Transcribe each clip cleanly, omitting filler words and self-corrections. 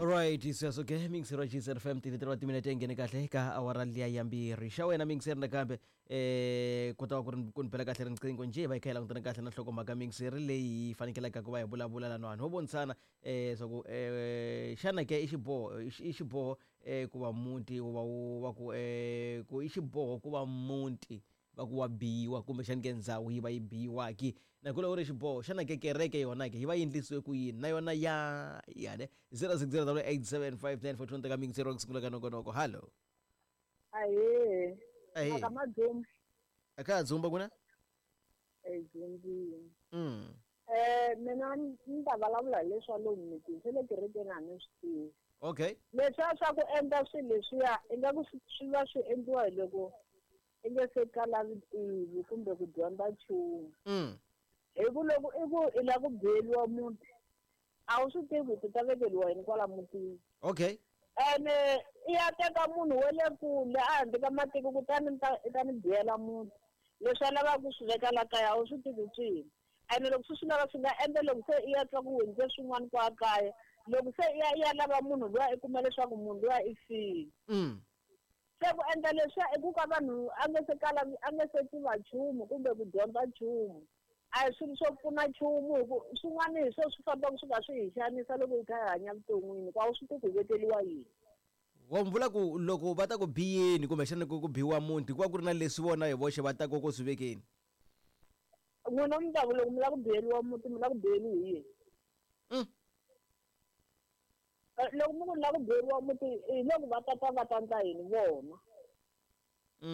Alright, sweswo ke mingiseri wa GZR FM 33 wa timinete nghene kahle ka awara liya ya mbirhi xa wena mingiseri nakambe ku ta va ku ri ku ni bela kahle riqingho njhe hi va hi kha hi langutana kahle na nhlokomhaka mingiseri leyi hi fanekelaka ku va hi vulavula laniwani ho vonisana swa ku xana ke i xiboho i xiboho ku va muti wu va wu va ku ku i xiboho ku va muti va ku wa biwa kumbexani ke ndzhawu yi va yi biwa-ki na ku ri xiboho xana ke kereke yona ke yi va yi endlisiwe ku yini na yona ya ya ne 060 875 teka mingiseri wa ku sungula ka nongonoko hallo. Ahee. Ahee. Maka madzumba. A ka ha dzumba kuna? E dzumbini. Mina ni ta vulavula hi leswa lomu mitini swa le kerekeni a ni swi tivi. Okay. Leswiya swa ku endla swilo leswiya ingaku swi va swi endliwa hi loko i nge se kala vutivi kumbe ku dyondza nchumu. Hi ku loko i ku i lava ku biyeriwa muti a wu swi tivi ku ta vekeriwa yini kwala mutini. Okay. Ene i ya teka munhu wa le kule a handle ka matiko kutani i ta ni biyela muti. Leswi a lavaka ku swi veka la kaya a wu swi tivi swi yini. Ene loko swi swi lava swi nga endla loko se i ya twa ku hundze swin'wana kwa kaya loko se i ya i ya lava munhu luya i kuma leswaku munhu luya i file. Se ku endla leswiya i ku ka vanhu a nge se kala a nge se tiva nchumu kumbe ku dyondza nchumu. A hi swilo swo pfuna nchumu hi ku swin'wana hi swo swi fambaka swi kha swi hi xanisa loko hi kha hi hanya vuton'wini ku a wu swi tivi ku hi vekeriwa yini. Wa mi vula ku loko va ta ku biyeni kumbexana ku biwa muti ku va ku ri na leswi vona hi voxe va taka ku swi vekeni? N'wina mi ta ku loko mi lava ku biyeriwa muti mi lava ku biyeriwa hi yini? Loko mi ku ni lava ku biyeriwa muti hi loko va tata va ta endla yini vona? Se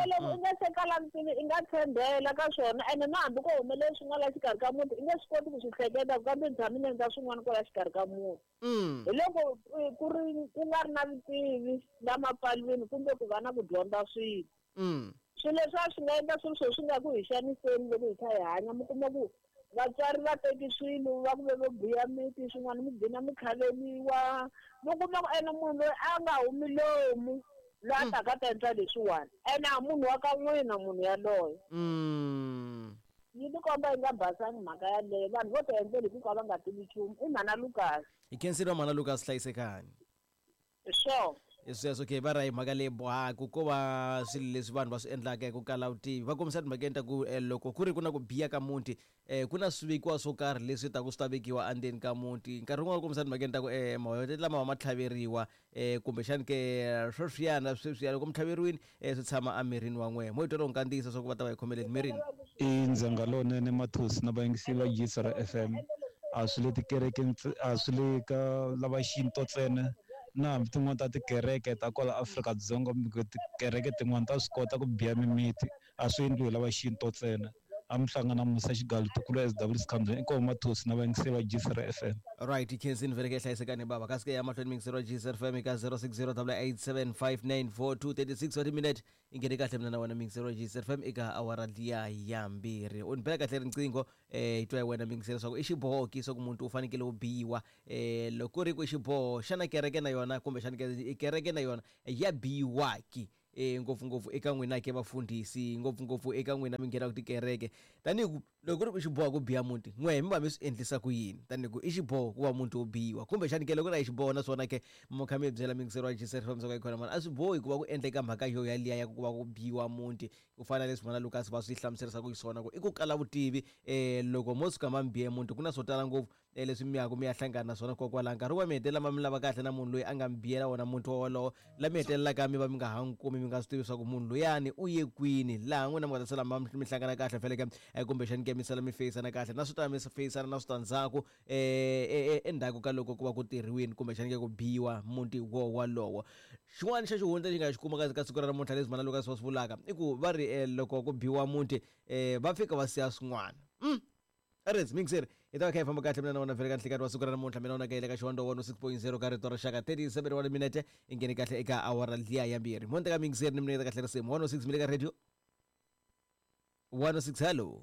loko i nga se kala vutivi i nga tshembela ka swona ene na hambi ko humelela swi nga la xikarhi ka muti i nge swi koti ku swi hleketa ku kambe ni tshame ni endla swin'wana kwala xikarhi ka muti. Hi loko ku ri ku nga ri na vutivi la mapfalwini kumbe ku va na ku dyondza swilo. Swilo leswi a swi nga endla swilo swo swi nga ku hi xaniseni loko hi kha hi hanya mi kuma ku vatswari va teki swilo va ku ve vo biya miti swin'wana mi gcina mi tlhaveriwa mi kuma ku ene munhu loyi a nga humi lomu loyi a taka a ta endla leswiwani ene a munhu wa ka n'wina munhu yaloye. Yi tikomba yi nga basangi mhaka yaleyo vanhu vo ti endlela hi ku ka va nga tivi nchumu i mhana Lucas. Hi khensile mhana Lucas hlayisekani. Sure. Hi sweswo ke va ra hi mhaka leyi bohaka ko va swilo leswi vanhu va swi endlaka hi ku kala vutivi va kombisa timhakeni ta ku loko ku ri ku na ku biya ka muti ku na swivekiwa swo karhi leswi taku swi ta vekiwa endzeni ka muti nkarhi wun'wana va kombisa timhakeni ta ku mawete lama ma tlhaveriwa kumbexani ke sweswiyana sweswiya loko mi tlhaveriwile swi tshama emirini wa n'wehe mo yi twa loko nkandziyiso swa ku va ta va hi khomeleni mirini. I ndzhenga lowunene Mathosi na vayingiseri va Giyisara FM. A swi le tikerekeni a swi le ka lava xintu ntsena na hambi tin'wani ta tikereke ta kwala Afrika-Dzonga kumbe tikereke tin'wani ta swi kota ku biya mimiti a swi endliwi hi lava xintu ntsena. A mi hlangana Musa Xigalu ntukulu wa SW Sikhandzeni inkomu Mathosi na vayingiseri va Giyisara FM. Right, khensini vhele ke hlayisekani baba kasi ke ya mahlweni miyingiseri wa GSR FM eka 060 875 36 wa timinete i nghene kahle mina na wena miyingiseri wa GSR FM eka awara liya ya mbirhi u ni bela kahle riqingho hi twa hi wena miyingiseri leswaku i xiboho ki swa ku muntu u fanekele u biwa loko ku ri ku i xiboho xana kereke na yona kumbexana kereke na yona ya biwa ki ngopfungopfu eka n'wina ke vafundhisi ngopfungopfu eka n'wina mi nghenaka tikereke tanihi ku loko ku ri ku xiboho ku biha muti n'wehe mi va mi swi endlisa ku yini tanihi ku i xiboho ku va muti wo biwa kumbexani ke loko ri a hi xiboho naswona ke mi kha mi byela miyingiseri wa GCR FM swa ku khona mani a swi bohi ku va ku endleka mhaka yo yaliya ya ku va ku biwa muti ku fana na leswi mhana Lucas va swi hlamuserisaka xiswona ku i ku kala vutivi loko mo suka ma mi bihe muti ku na swo tala ngopfu leswi mi yaku mi ya hlangana na swona kokwalaho nkarhi wun'wana mi hetelela ma mi lava kahle na munhu loyi a nga mi biyela wona muti wolowo la mi hetelelaka mi va mi nga ha n'wi kumi mi nga swi tivi swa ku munhu luyani u ye kwini laha n'wina mi nga ta sala ma mi hlangana kahle feleke kumbexani ke mi sala mi feyisana kahle na swi ta mi feyisana na switandzhaku endzhaku ka loko ku va ku tirhiwini kumbexani ke ku biwa muti wo wolowo xin'wana xa xihundla xi nga xi kuma ka siku ra namuntlha leswi mhana Lucas va swi vulaka i ku va ri loko ku biwa muti va fika va siya swin'wana Ares mixer hi ta va kha hi famba kahle mina na wena vhele ka nhlikani wa siku ra namuntlha mina wena ka ka xiwando 106.0 ka rito ra xaka 37 wa minete i nghene kahle eka awara liya ya mbirhi monte ka mixer ni minete kahle risimu 106 mi le ka radio 106 hello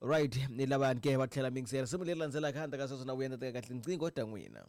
right ni lavani ke va tlhela mixer risimu leri landzelaka handle ka sweswo na vuya ni teka kahle nqingho ta n'wina.